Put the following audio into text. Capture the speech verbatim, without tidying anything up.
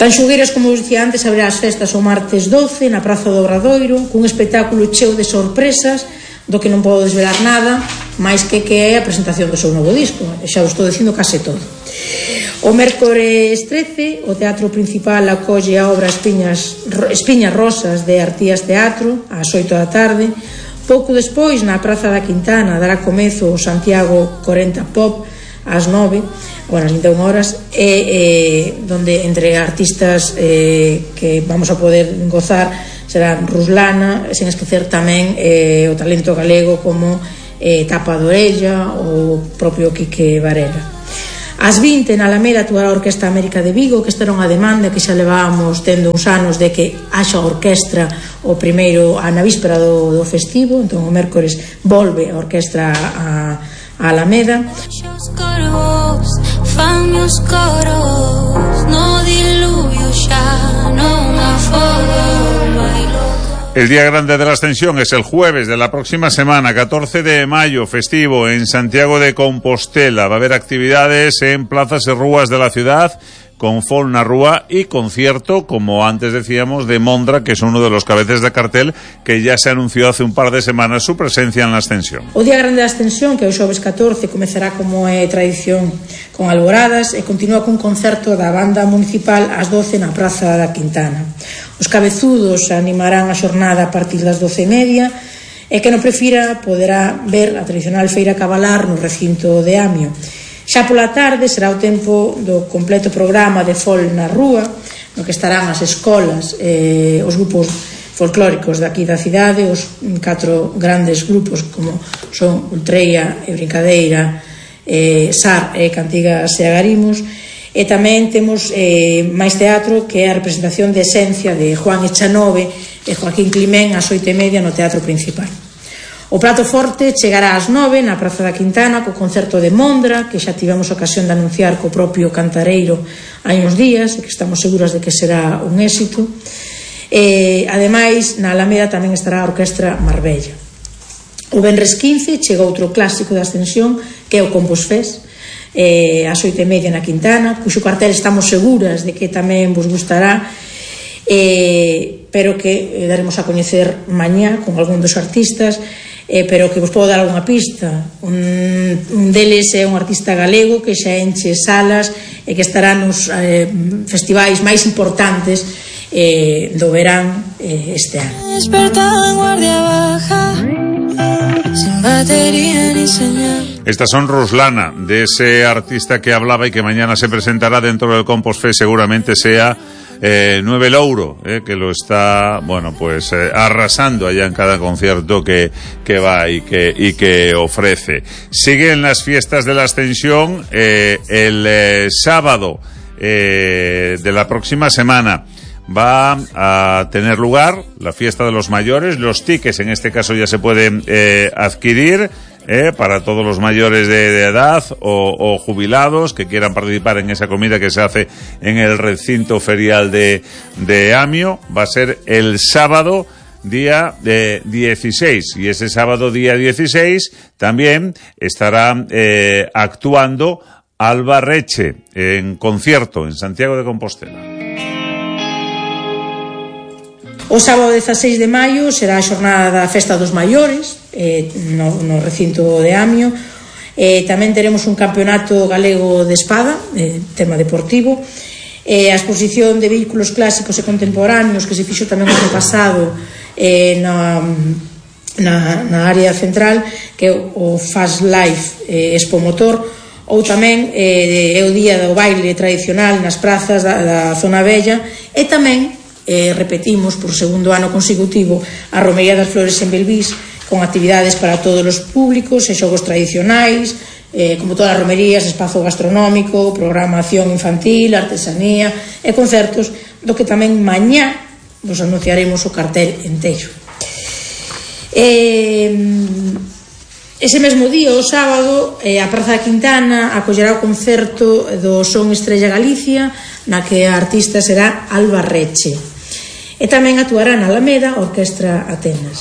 Tan xogueiras, como vos dicía antes, abrirá as festas o martes doce na Praza do Obradoiro, cun espectáculo cheo de sorpresas, do que non podo desvelar nada, máis que que é a presentación do seu novo disco. Xa vos estou dicindo case todo. O mércores trece, o Teatro Principal acolle a obra Espiñas, Espiñas Rosas de Artías Teatro ás oito da tarde. Pouco despois, na Praza da Quintana, dará comezo o Santiago corenta Pop ás nove, bueno, ás vinte e unha horas, e, e donde entre artistas eh, que vamos a poder gozar serán Ruslana, sen esquecer tamén eh, o talento galego como eh, Tapa de Orella ou o propio Quique Varela. Ás vinte na Alameda actuará a Orquestra América de Vigo, que esta era unha demanda que xa levábamos tendo uns anos de que haxa orquestra o primeiro a na víspera do, do festivo. Entón o mércores volve a orquestra a, a Alameda. El día grande de la Ascensión es el jueves de la próxima semana, catorce de mayo, festivo en Santiago de Compostela. Va a haber actividades en plazas y rúas de la ciudad, con Fol na Rúa y concierto, como antes decíamos, de Mondra, que es uno de los cabezas de cartel que ya se anunció hace un par de semanas su presencia en la Ascensión. O día grande da Ascensión, que é o xoves catorce, comezará como é tradición con alboradas e continúa cun concerto da banda municipal ás doce na Praza da Quintana. Os cabezudos animarán a xornada a partir das doce e media e que non prefira poderá ver a tradicional feira cabalar no recinto de Amio. Xa pola tarde será o tempo do completo programa de Fol na Rúa, no que estarán as escolas, eh, os grupos folclóricos daqui da cidade, os catro grandes grupos como son Ultreia e Brincadeira, eh, Sar e Cantigas e Agarimos. E tamén temos eh, máis teatro, que é a representación de Esencia de Juan Echanove e Joaquín Climén ás oito e media no Teatro Principal. O prato forte chegará ás nove na Praza da Quintana co concerto de Mondra, que xa tivemos ocasión de anunciar co propio cantareiro hai uns días e que estamos seguras de que será un éxito. E, ademais, na Alameda tamén estará a Orquestra Marbella. O venres quince chega outro clásico da Ascensión, que é o Compos Fest, eh, ás oito e media na Quintana, cuxo cartel estamos seguras de que tamén vos gustará, eh, pero que eh, daremos a coñecer mañá con algún dos artistas, eh, pero que vos podo dar algunha pista. Un, un deles é un artista galego que xa enche salas e que estará nos eh, festivais máis importantes eh, do verán eh, este ano. Sin batería ni señal. Estas son Ruslana, de ese artista que hablaba y que mañana se presentará dentro del Compos Fest, seguramente sea eh, Nueve Louro, eh, que lo está, bueno, pues eh, arrasando allá en cada concierto que, que va y que, y que ofrece. Siguen las fiestas de la Ascensión eh, el eh, sábado eh, de la próxima semana. Va a tener lugar la fiesta de los mayores. Los tickets en este caso ya se pueden eh, adquirir eh, para todos los mayores de, de edad o, o jubilados que quieran participar en esa comida que se hace en el recinto ferial de, de Amio. Va a ser el sábado día eh, dieciséis, y ese sábado día dieciséis también estará eh, actuando Alba Reche en concierto en Santiago de Compostela. O sábado dezaseis de maio será a xornada da Festa dos Maiores eh, no, no recinto de Amio. Eh, tamén teremos un campeonato galego de espada, eh, tema deportivo, eh, a exposición de vehículos clásicos e contemporáneos que se fixo tamén o ano pasado eh, na, na, na área central, que é o Fast Life eh, Expo Motor, ou tamén eh, é o día do baile tradicional nas prazas da, da zona vella, e tamén Eh, repetimos por segundo ano consecutivo a Romería das Flores en Belvís, con actividades para todos os públicos e xogos tradicionais, eh, como todas as romerías, espazo gastronómico, programación infantil, artesanía e concertos, do que tamén mañá vos anunciaremos o cartel enteiro. Eh, ese mesmo día, o sábado, eh, a Praza da Quintana acollerá o concerto do Son Estrella Galicia, na que a artista será Alba Reche. E tamén actuará na Alameda a Orquestra Atenas.